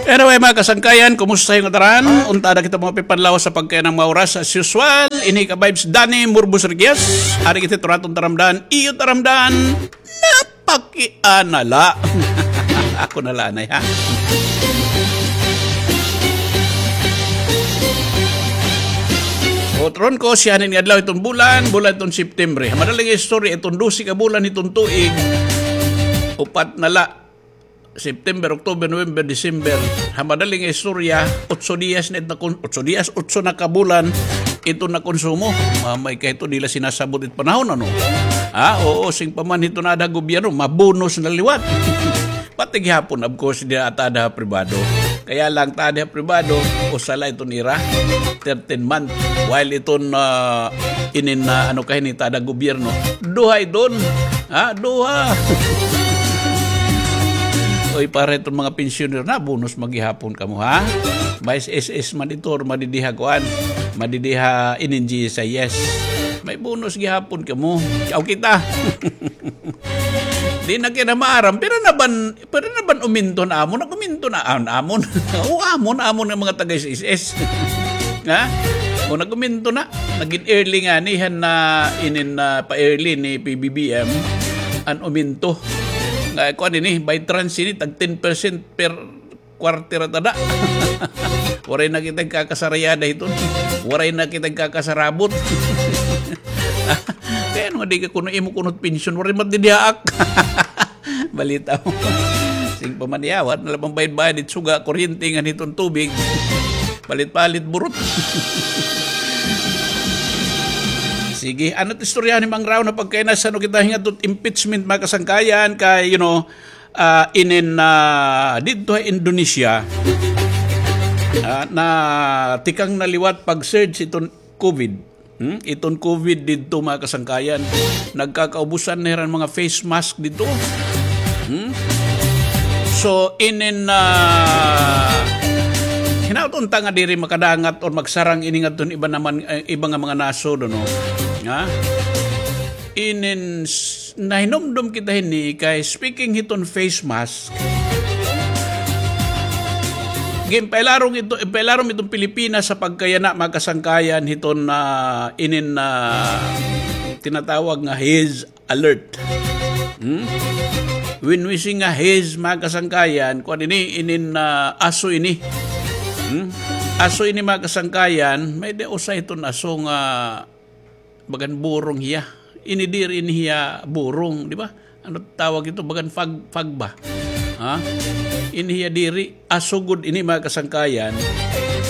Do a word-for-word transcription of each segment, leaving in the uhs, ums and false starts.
Anyway, mga kasangkayan, kumusta yung taran? Unta na kita mga pipanlaw sa pagkaya ng mga oras. As usual, ini ka vibes Danny Murbos Riquez. Ari kita turaton taramdan, iyo taramdan. Napakianala. Ako na lanay, ha? Otron ko, siya nin nga adlaw itong bulan, bulan itong September. Madaling istorya, itong dose ka bulan itong tuig, upat na la. September, October, November, December. Ha madaling istorya, otso diyas na it nakon-, otso diyas, otso na ka bulan, ito na konsumo. Mamay ka ito, dila sinasabot it panahon, ano? Ha? Oo, sing pa man ito na ada gobyerno, mabonus na liwat. Pati gihapon, of course, di ata ada pribado. Kaya lang, ta ada pribado, usa la iton ira, thirteen month. While iton, ah, inin na, ano, kahinita ada gobyerno, duha iton. Ha? Duha. Oy, para iton mga pensioner na, bonus man gihapon kamo, ha? May S S man ito, or madidiha kuan, madidiha inin G S I S. May bonus gihapon kamo. Aw kita. Di na kina maaram, pero naban, pero naban uminto na amon, nag-uminto na amon, amon. O, amon, amon nga mga taga S S S. Ha? O, nag-uminto na. Nagin early nga ni, han na inin na pa-early ni P B B M. An uminto. Nga, kuan ini, by trans ini, tag ten percent per quarter at ada. Waray na kita kakasarayada hiton. Waray na kita kakasarabot. Kaya ano nga di ka kuno imo kunot pensyon, waray matidihaak. Balita mo. Sing pa man iya, wa na la pambayad-bayad it suga, kuryente, ngan hiton tubig. Palit-palit burot. Sige, ano it istorya ni Mang Rao na pagkainas, ano kita hingat impeachment, mga kasangkayan, kay, you know, ah, inin, ah, didto ha Indonesia, ah, na tikang na liwat pag-surge iton COVID. Hmm? Iton COVID didto, mga kasangkayan. Nagkakaubusan na hiran mga face mask didto. Hmm? So, inin, ah, hinaut unta nga diri makadangat or magsarang ini ngadton iba naman, eh, iba nga mga nasod, no? Ha? Inin s-, nahinumdom kita hini kay speaking hiton face mask. Ginpailarom ito, ginpailarom iton Pilipinas sa pagkayana, mga kasangkayan, hiton, ah, inin, ah, tinatawag nga haze alert. Hmm? When we say nga haze, mga kasangkayan, kuan ini, inin, ah, aso ini. Hmm? Aso ini, mga kasangkayan, may-ada usa hiton aso nga bagan burong hiya. Ini diri ini hiya burong, di ba? Ano tawag ito? Bagan fog, fog ba? Ha? Ini hiya diri, aso gud ini, mga kasangkayan.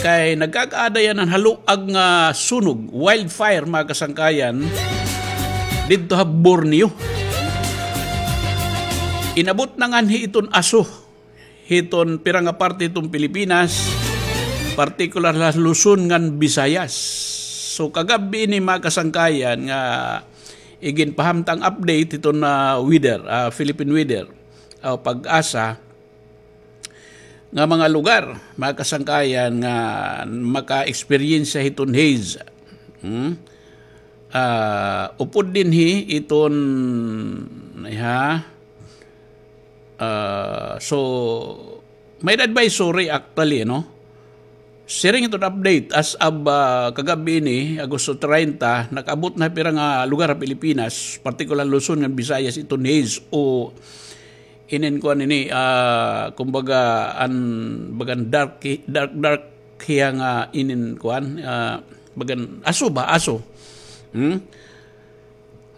Kay nagkakaada hiya han haluag nga sunog, wildfire, mga kasangkayan, didto ha Borneo. Inabot na nganhi iton aso hiton pira nga parte hiton Pilipinas, partikular ha Luzon ngan Visayas. So, kagab-i ini, mga kasangkayan, nga iginpahamtang update hiton, ah, weather, ah, Philippine Weather, ah, PAGASA, nga mga lugar, mga kasangkayan, nga maka-experience hiton haze. Hmm? Ah, upod dinhi iton, ha? Ah, so, may advisory actually, no? Siring iton update as of, ah, kagab-i ini, Agosto treinta, nakaabot na pira nga lugar ha Pilipinas, partikular Luzon ngan Visayas, iton haze o inin kuan ini, ah, kumbaga, an, bagan dark, dark, dark hiya nga inin kuan, ah, bagan aso ba? Aso. Hmm?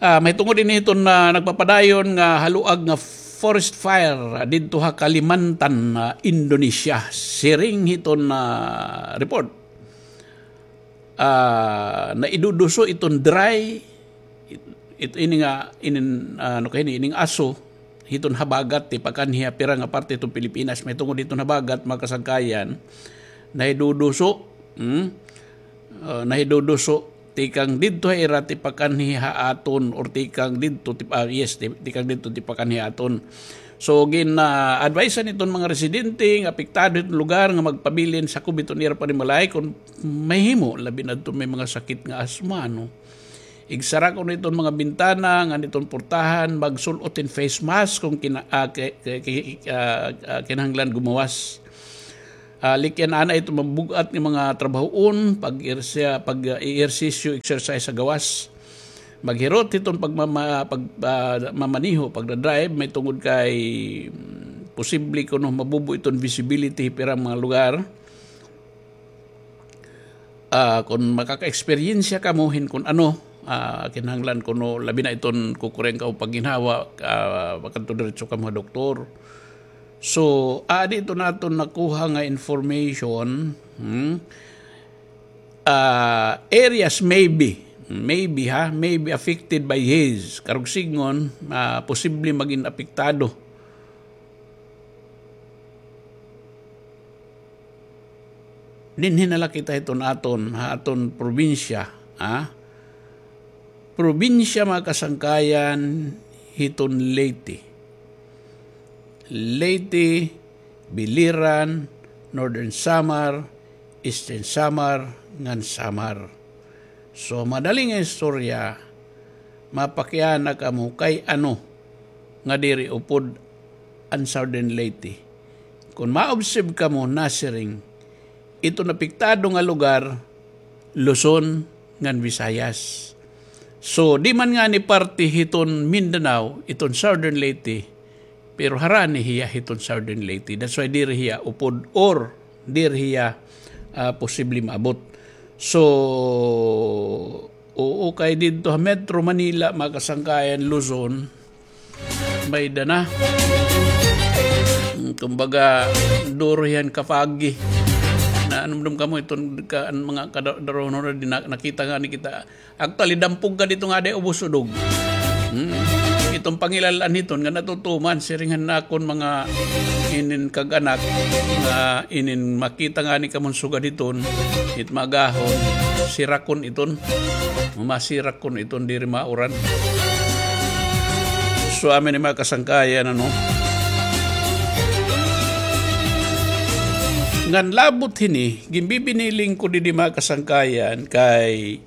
Ah, mahitungod ini hiton, ah, nagpapadayon nga haluag nga forest fire, ah, didto ha Kalimantan, ah, Indonesia. Siring hiton, ah, report, ah, naiduduso iton dry, it-, it-, ini nga, inin, ah, ano kay ini, ining aso, hiton habagat, tipakan hiya pira nga parte hiton Pilipinas, mahitungod hiton habagat, mga kasangkayan, nahiduduso, hmm? Ah, nahiduduso, tikang didto ha ira tipakanhi ha aton, or tikang didto tip-, ah, yes, ti-, tikang didto tipakanhi ha aton. So, gin, ah, advisean iton mga residente nga apektado hiton lugar nga magpabilin sakob hiton ira panimalay kon mahimo, labi na adton may mga sakit nga asma, no? Igsara kuno iton mga bintana ngan iton portahan, magsul-ot hin face mask kon kina-, ah, ki-, ki-, ki-, ah, ah, kinahanglan gumawas. Ah, likyan ana iton mabug-at nga mga trabahoon, pag-ersya-, pag, ah, ehersisyo, exercise sa gawas. Maghirot hiton pagmama-, pag, ah, mamaniho, pagda-drive, mahitungod kay, mm, posible kuno mabubo iton visibility hit pira mga lugar. Ah, kon makaka-eksperyensya kamo hin kon ano, ah, kinahanglan kuno labi na iton kukurian kamo pagginhawa, ah, makadto diretso kamo ha doktor. So, adi iton aton nakuha nga information, hmm? Ah, areas maybe, maybe ha, maybe affected by haze. Karuyag sidngon, ah, posible magin apektado. Dinhi na la kita hiton aton, ha aton probinsya, ha? Probinsya, mga kasangkayan, hiton Leyte. Leyte, Biliran, Northern Samar, Eastern Samar, ngan Samar. So, madali nga istorya, mapakiana kamo kay ano nga diri upod an Southern Leyte. Kon ma-observe kamo, nasiring, iton apektado nga lugar, Luzon ngan Visayas. So, di man ngani parte hiton Mindanao, iton Southern Leyte, pero harani hiya hiton Southern Leyte. That's why diri hiya upod or diri hiya, ah, posible maabot. So, oo, kay didto ha Metro Manila, mga kasangkayan, Luzon, may-ada na. Mm, kumbaga, duro hiya han kapagi. Naanumdom kamo iton ka, an mga kada-, darunhon na din na-, nakita ngani kita. Actually, dampog ka didto nga adi ubos udog. Hmm. Iton pangilal-an hiton nga natutuman, siring han akon mga inin kag-anak nga inin makita ngani kamo han sugad hiton, it magahon, sirakon iton. Masirakon iton, diri mauran. So, amin ni mga kasangkayan, ano? Ngan labot hini, ginbibiniling ko didi, mga kasangkayan, kay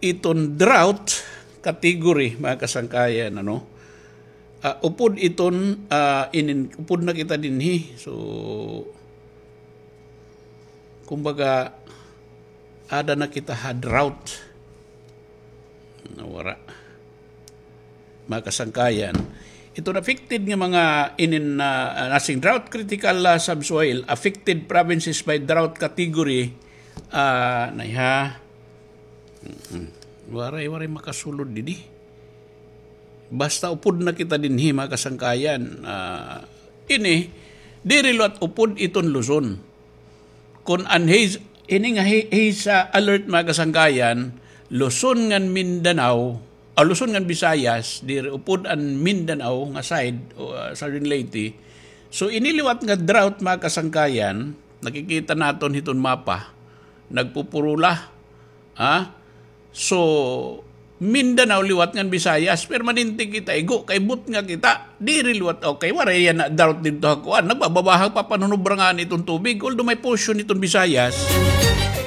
iton drought category, mga kasangkayan, ano? Ah, upod iton, ah, inin, upod na kita dinhi. So, kumbaga, ada na kita ha drought. Nawara. Mga kasangkayan. Iton affected nga mga inin, ah, nasiring drought critical, ah, subsoil, affected provinces by drought category, ah, na ha. Mm-mm. Waray, waray makasulod didi. Basta upod na kita dinhi, mga kasangkayan. Ah, ini, diri liwat upod iton Luzon. Kon an haze, ini nga ha-, haze, ah, alert, mga kasangkayan, Luzon ngan Mindanao, ah, Luzon ngan Visayas, diri upod an Mindanao nga side, o, ah, Southern Leyte. So, ini liwat nga drought, mga kasangkayan, nakikita naton hiton mapa, nagpupurula, ha? So, Mindanao liwat ngan Visayas, permanente kita igo, kay butnga kita, diri liwat, okay, waray yana drought didto ha kuan, nagbabaha pa, panunubra ngani iton tubig, although may portion iton Visayas,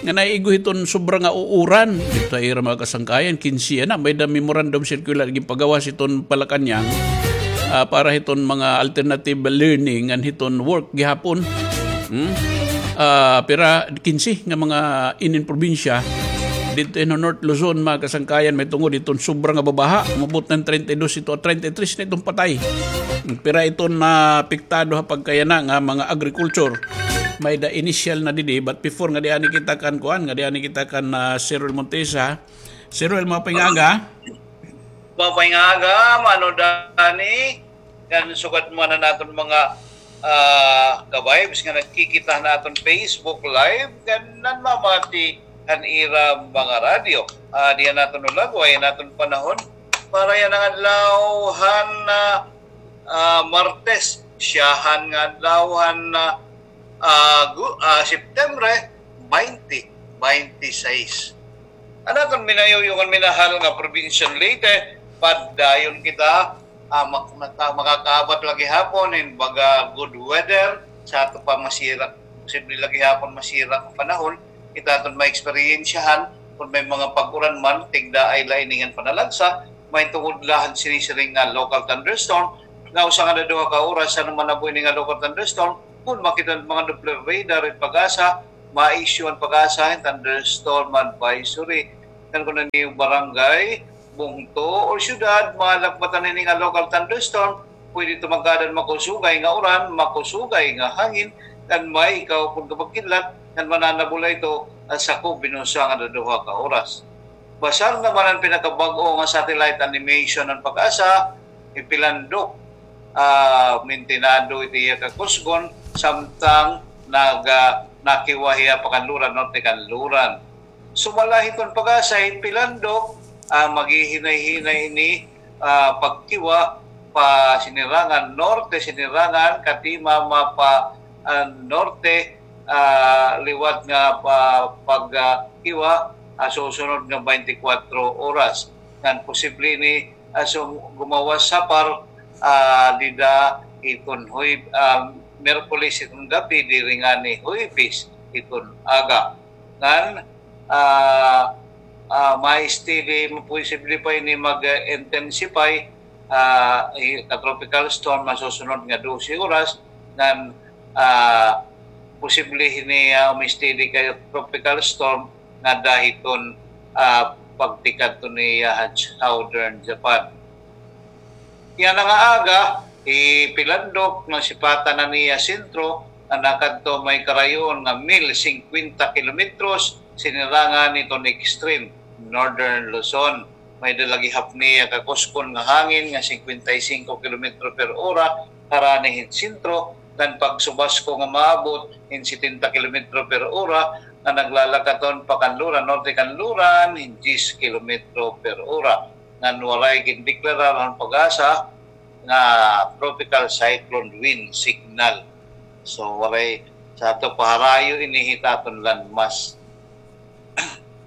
nga naigo hiton sobra nga uuran, didto ha ira mga kasangkayan, kinse yana, may-ada memorandum circular, ginpagawas iton Malacañang, ah, para hiton mga alternative learning ngan hiton work gihapon. Hmm? Ah, pira, kinse nga mga inin probinsya, didto ha North Luzon, mga kasangkayan, mahitungod hiton sobra nga babaha, umabot na hin treinta y dos ito, treinta y tres na iton patay. Pira iton naapektado ha pagkayana nga mga agriculture. May-ada initial na didi, but before nga di ani kita kan kuan, nga di ani kita kan, ah, Sir Roel Montesa. Sir Roel, maupay nga aga. Maupay nga aga, Mano Danny. Ngan sugad man han aton mga, ah, ka-vibes nga nagkikita han aton Facebook Live, ngan nanmamati han ira mga radyo. Ah, dida han aton hulagway, an aton panahon. Para yana nga adlaw han, ah, ah, Martes, syahan nga adlaw han, ah, ah, gu-, ah, September twenty twenty-six. An aton minayuyo ngan minahal nga probinsya han Leyte, padayon kita, ah, mak-, maka-, makakaabat la gihapon hin baga good weather, sa ato pa masira, posible la gihapon masira nga panahon, kita aton maeksperyensyahan, kon may mga pag-uran man, tigdaay la ini ngan panalagsa, mahitungod la han sinisiring nga local thunderstorm, nga usa ngada duha ka oras, ano man nabo ini nga local thunderstorm, Kun makita an mga Doppler radar, it PAGASA, ma-issue an PAGASA hin thunderstorm advisory. Ngan kun an iyo barangay, bungto, or syudad, malakbatan ini nga local thunderstorm, pwede ito magkaadan makusugay nga uran, makusugay nga hangin, ngan may kahupon nga pagkidlat, ngan mananabula ito, ah, sa kubinosa nga duduha ka oras. Basar naman an pinakabag-o nga satellite animation han PAGASA, ipilandok, ah, mintinado it iya kakusgon, samtang naga-, nakiwa hiya pa Kanluran, Norte Kanluran. Sumala hiton PAGASA, ipilandok, ah, maghihinay-hinay ini, ah, pagkiwa pa Sinirangan Norte, Sinirangan, Katima, mapa, ah, Norte, ah, liwat nga pa, pag, ah, kiwa, ah, susunod nga twenty-four oras. Ngan posible ini, ah, sum-, gumawas ha par, ah, dida iton Huweb-, ah, Miyerkules iton gab-i, diri ngani Huwebes iton aga. Ngan, ah, ah, ma-steady, posible pa ini mag-intensify, ah, hi-, ka tropical storm ha susunod nga dose oras, ngan, ah, posible ini, ah, umi-steady ka tropical storm ngada hiton, ah, pagtikadto niya ha southern Japan. Yana nga aga, ipilandok nga sipatan an iya sentro, nga nakadto may karayon nga mil singkwenta kilometros, Sinirangan hiton extreme northern Luzon. May-ada la gihap niya kakusgon nga hangin nga singkwenta y singko kilometro per ora, harani hin sentro, ngan pagsubasko nga maabot hin setenta kilometro per ora, nga naglalakaton pa Kanluran, Norte Kanluran, hin diyes kilometro per ora. Ngan waray gindeklarar an PAGASA nga tropical cyclone wind signal. So, waray, sa ato pa harayo ini hit aton landmass.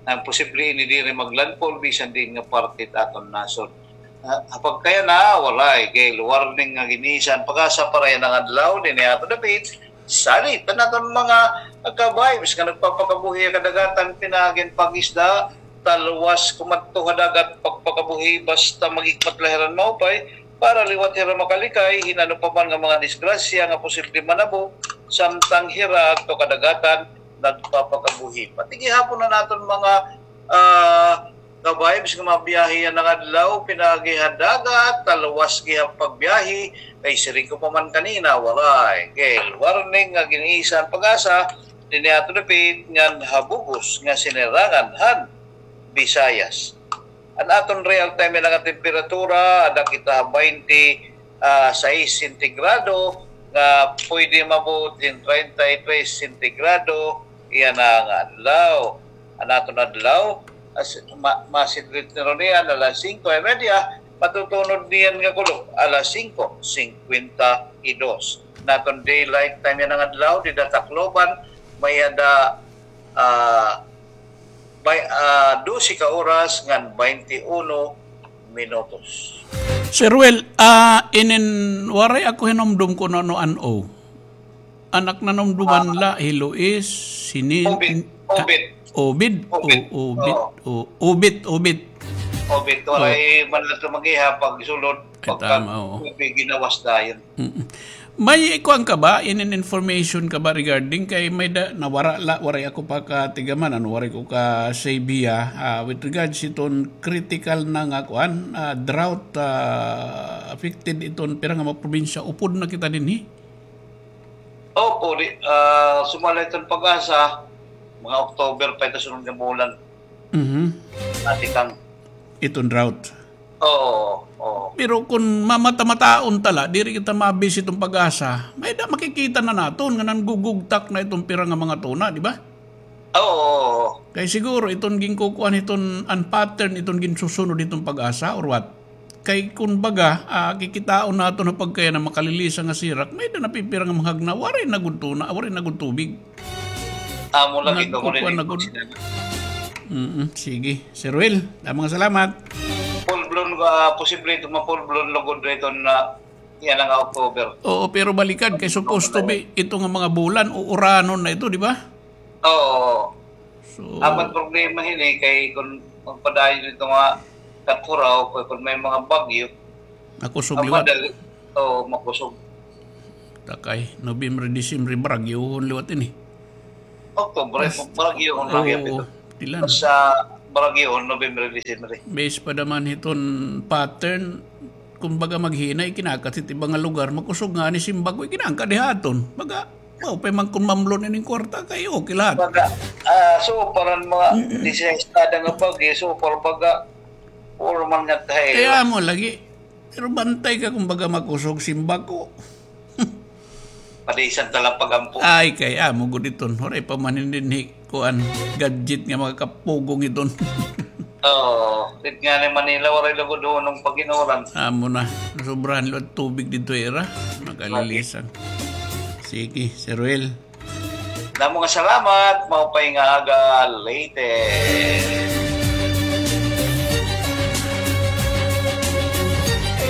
Ngan posible ini diri maglandfall bisan diin nga parte hit aton nasod. Ah, ha pagkayana, waray gale warning nga gin-isa an PAGASA para yana nga adlaw dinhi ha aton dapit. Salit an aton mga ka-vibes nga nagpapakabuhi ha kadagatan pinaagi hin pag-isda, talwas kumadto ha dagat pagpakabuhi basta maghikmat la hira hin maupay para liwat hira makalikay hin ano pa man nga mga disgrasya nga posible manabo samtang hira adto kadagatan nagpapakabuhi. Pati gihapon an aton mga, ah, ka-vibes nga mabiyahe yana nga adlaw, pinaagi ha dagat, talwas gihap pagbiyahe, kay siring ko pa man kanina, waray gale warning nga gin-isa an PAGASA dinhi ha aton dapit ngan ha bug-os nga Sinirangan han Visayas. An aton real time yana nga temperatura, ada kita ha baynte, ah, sais sentigrado, nga pwede maabot hin treinta y tres sentigrado yana nga adlaw. An aton adlaw, as, ma-, masidrit na ron niyan alas singko y media, matutunod niyan nga kulop alas singko singkwenta y dos. An aton daylight time yana nga adlaw, dida Tacloban, may-ada, ah, bay-, ah, dose ka oras ngan baynte uno minutos. Sir Will, ah, inin waray ako hinumdom kon ano an O. An ak nanumduman la, hi Luis, hi Nin-, Obit, ah, Obit. Obit, Obit. O-, Obit, Oo. O-, Obit, Obit. Obit, waray man la ito mag-iha pagsulod, Ay, pagka tama, oo. Obit, ginawas dayon. Mm-mm. May kuan ka ba, inin information ka ba regarding kay may da, nawara la, waray ako pakatigaman, ano, waray ko ka-save hiya, ah, with regards iton critical na nga kuan, ah, drought, ah, affected iton pira nga mga probinsya, upod na kita dinhi? Opo, di, ah, sumala iton PAGASA, mga October pa ito sunod nga bulan. Mhm. Ati kang Iton drought. Oo, oo. Pero kon mamata-mataon ta la, diri kita ma-base iton PAGASA, may-ada makikita na naton nga nanggugugtak na iton pira nga mga tuna, di ba? Oo. Kay siguro iton ginkukuan iton an pattern iton ginsusunod iton PAGASA or what? Kay kon baga, ah, kikitaon naton ha pagkayana makalilisa nga sirak, may-ada napipira nga mga hagna, waray na gud tuna, waray na gud tubig. Amo lagi ko Nagkukuan na gud. Mm, sige. Sir Will, damo nga salamat. Full blown, ah, posible ito ma-full blown lugod na ito na yana nga October. Oo, pero balikad kay supposed to be ito nga mga bulan o uranon na ito, di ba? Oo. So, apat problema hini kay kung magpadayon ito nga katuraw, kay kung may mga bagyo, makusog liwat. Madali, oo, makusog. Takay, November, December, baragyohon liwat ini. Oktubre, baragyohon lagi ito. Tilan. Sa baragyohon, November, December. Base pa naman hiton pattern, kumbaga maghinay, kinakatit iba nga lugar, makusog ngani sin bag-o, ikinangka diha aton. Baga, mao pa man kun mamlon ining kwarta, kay okay lahat. Baga, ah, so, parang mga disastada nga bag-o, so, parang baga, puro man nga tayo. Kaya mo lagi, pero bantay ka kung baga makusog sin bag-o. Padisan ta lang pag-ampo. Ay, kay amo gud iton. Waray pa man dinhi kuan, gadget nga makakapugong iton. Oo, dit nga ni Manila, waray lugod hunong pag-inuran. Amo na, sobrahan liwat tubig didto ira. Makalilisang. Sige, Sir Ruel. Damo nga salamat, maupay nga aga, Leyte.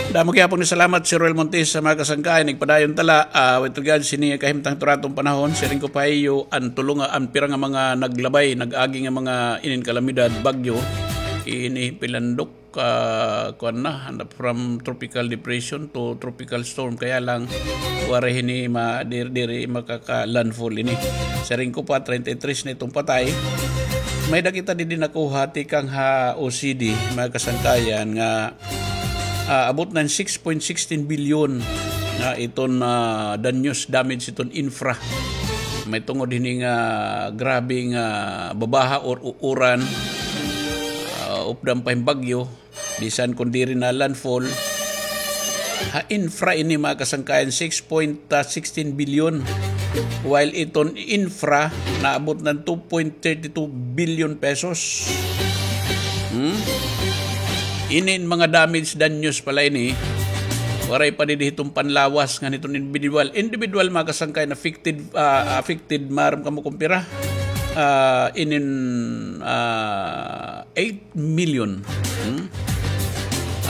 Damo gihapon nga salamat, Sir Ruel Montes, sa mga kasangkayan. Nagpadayon ta la, ah, with regards sini kahimtang turaton panahon, siring ko pa ha iyo, an tulo nga, an pira nga mga naglabay, nag-agi nga mga inin kalamidad, bagyo, ini pilandok, ah, kuan na, from tropical depression to tropical storm. Kaya lang, waray hini ma-, diri, diri makaka-landfall ini. Siring ko pa, treinta y tres na iton patay. May-ada kita didi nakuha tikang ha O C D, mga kasangkayan, nga, ah, abot na hin six point sixteen billion nga iton, ah, danyos, damage iton infra. May tungod hini nga grabe nga babaha or uuran, ah, updan pa hin bagyo. Bisan kon diri na landfall, ha infra ini, mga kasangkayan, six point sixteen billion. While iton infra, naabot na hin two point thirty two billion pesos. Hmm? Inin mga damage, danyos pala ini. Waray pa didi hiton panlawas ngan hiton individual. Individual, mga kasangkayan, affected, ah, affected, maaram kamo kon pira. Ah, inin, ah, eight million, hmm?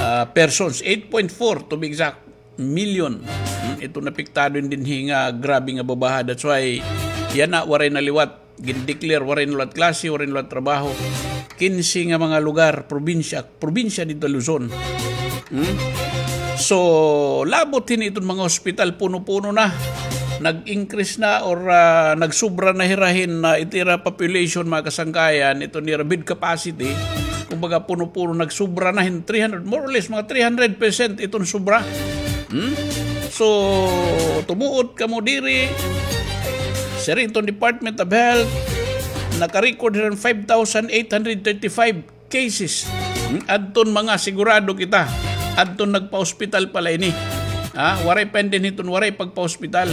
Ah, persons, eight point four to be exact, million. Hmm? Iton apektado dinhi nga grabe nga babaha. That's why yana waray na liwat gin-declare, waray na liwat klase, waray na liwat trabaho. Kinse nga mga lugar, probinsya, probinsya didto ha Luzon. Hmm? So, labot hini iton mga hospital, puno-puno na. Nag-increase na or, ah, nagsubra na hira hin, ah, it ira population, mga kasangkayan, iton ira bed capacity. Kumbaga, puno-puno, nagsubra na hin three hundred, more or less, mga three hundred percent iton subra. Hmm? So, tumuot kamo diri, siring iton Department of Health, naka-record hira hin five thousand eight hundred thirty-five cases. Hmm? Adton mga sigurado kita. Adton nagpa-hospital pala ini. Ha? Waray pa dinhi iton waray pagpa-hospital.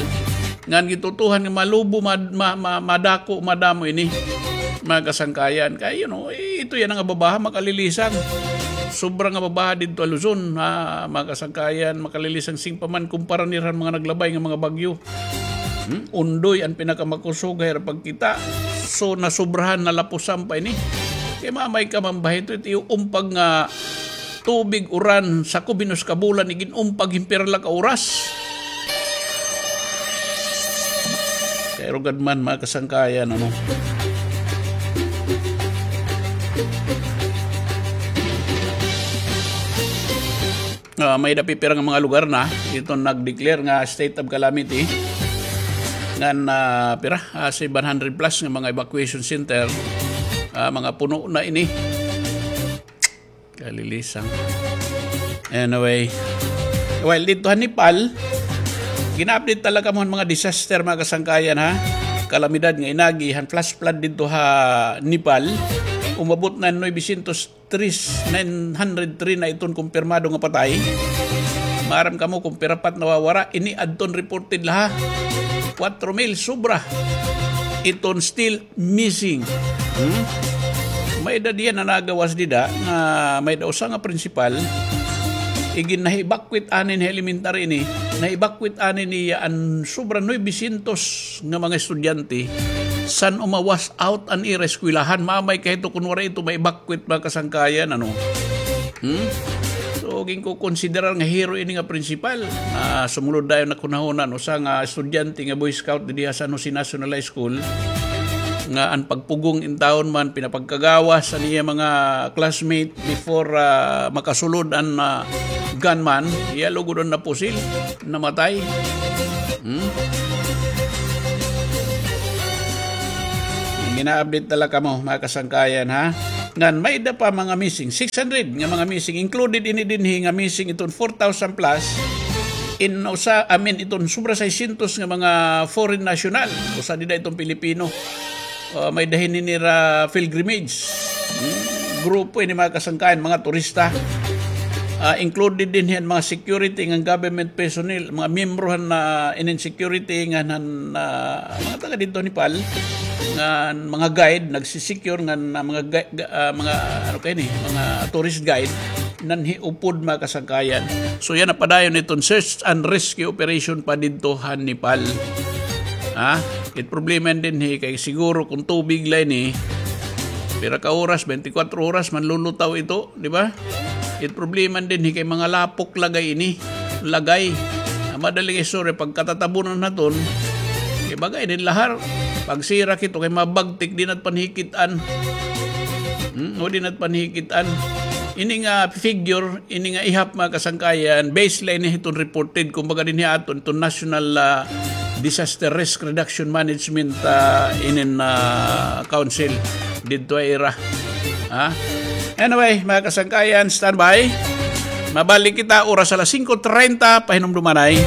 Ngan gitutuhan nga malubo, ma-, ma-, ma-, madako, madamo ini. Mga kasangkayan. Kay, you know, eh, ito yana nga babaha, makalilisang. Sobra nga babaha didto ha Luzon, ha, mga kasangkayan, makalilisang sing pa man kumpara nira han mga naglabay nga mga bagyo. Hmm? Ondoy an pinakamakusog ha ira pagkita. So, nasobrahan, nalapusan pa ini. Kay mamay ka man ba hito, it iyo umpag nga tubig, uran, sakob hin usa ka bulan, igin-umpag hin pira la ka oras. Kay rugad man, mga kasangkayan, ano. Ah, may-ada pipira nga mga lugar na iton nag-declare nga state of calamity. Ngan, ah, pira? Ah, seven hundred plus nga mga evacuation center. Ah, mga puno na ini. Kalilisang. Anyway. Well, didto ha Nepal, gin-update ta la kamo han mga disaster, mga kasangkayan, ha. Kalamidad nga inagi han flash flood didto ha Nepal. Umabot na hin novecientos tres, nine hundred three na iton kumpirmado nga patay. Maaram kamo kon pira pa it nawawara, ini adton reported la ha. Kwatro mil sobra iton still missing. Hmm? May-ada diyan nga nagawas dida nga may-ada usa nga prinsipal, igin-evacuate anay hin elementary ini, na-evacuate anay niya an sobra novecientos nga mga estudyante san umawas out an ira eskwelahan. Mamay ka hito kon waray ito ma-evacuate, mga kasangkayan, ano? Hmm? So, ginkukonsiderar nga hero ini nga prinsipal. Ah, sumulod dayon naghunahuna an usa nga estudyante nga Boy Scout didi ha San Jose National High School. nga an pagpugong intawon man pinapagkagawas an iya mga classmate before, ah, makasulod an, ah, gunman, iya lugod an napusil, namatay. Hmm? Gina-update na la kamo, mga kasangkayan, ha? Ngan may-ada pa mga missing, six hundred nga mga missing, included ini dinhi nga missing iton four thousand plus, in usa, I mean, iton sobra seiscientos nga mga foreign national, usa dida iton Pilipino. Ah, may-ada hini nira pilgrimage. Hmm? Grupo ini, mga kasangkayan, mga turista. Ah, included dinhi an mga security ngan government personnel, mga miyembro han, ah, inin security ngan han, ah, mga taga didto Nepal, ngan mga guide, nagsisecure ngan, ah, mga gui-, ga-, ah, mga, ano kay ni, mga tourist guide, nanhiupod, mga kasangkayan. So, yana padayon iton search and rescue operation pa didto han Nepal. Ha? It problema dinhi kay siguro kon tubig la ini, pira ka oras, twenty-four oras, manlulutaw ito, di ba? It problema dinhi kay mga lapok lagay ini. Lagay. Ah, madali nga istorya, pagkatatabunan naton, kay baga ini lahar. Pagsira kito kay mabagtik, di nat panhikit-an. Hmm, o di nat panhikit-an. Ini nga figure, ini nga ihap, mga kasangkayan, base la ini hiton reported, kumbaga dinhi aton, iton National, ah, Disaster Risk Reduction Management, ah, inin, ah, council. Didto ha ira. Ha? Anyway, mga kasangkayan, standby. Mabalik kita, oras alas singko treinta, pahinumdumanay.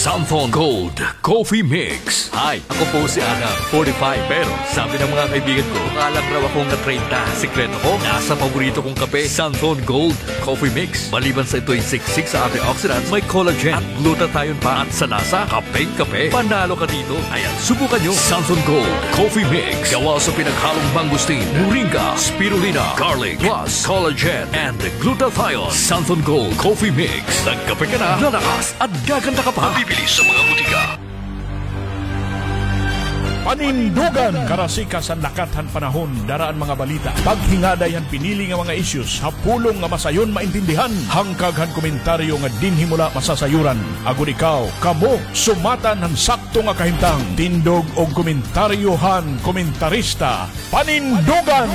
Samson Gold Coffee Mix. Hi, ako po si Adam, forty-five. Pero sabi ng mga kaibigan ko, mukha lang raw akong na-treinta. Sikreto ko, nasa paborito kong kape, Samson Gold Coffee Mix. Maliban sa ito'y siksik sa antioxidants, may collagen at glutathione pa. At sa lasa, kapeng-kape. Panalo ka dito. Ayan, subukan nyo. Samson Gold Coffee Mix. Gawa sa pinaghalong mangosteen, moringa, spirulina, garlic, plus collagen and glutathione. Samson Gold Coffee Mix. Nagkape ka na, lalakas at gaganda ka pa. Mabibili sa mga butika. Panindugan! Karasikas han lakat han panahon, dara an mga balita. Paghingaday han pinili nga mga issues ha pulong nga masayon maintindihan. Hangkag han komentaryo nga dinhi mo la masasayuran. Agod ikaw, kamo, sumatan han sakto nga kahimtang. Tindog og komentaryo han komentarista. Panindugan!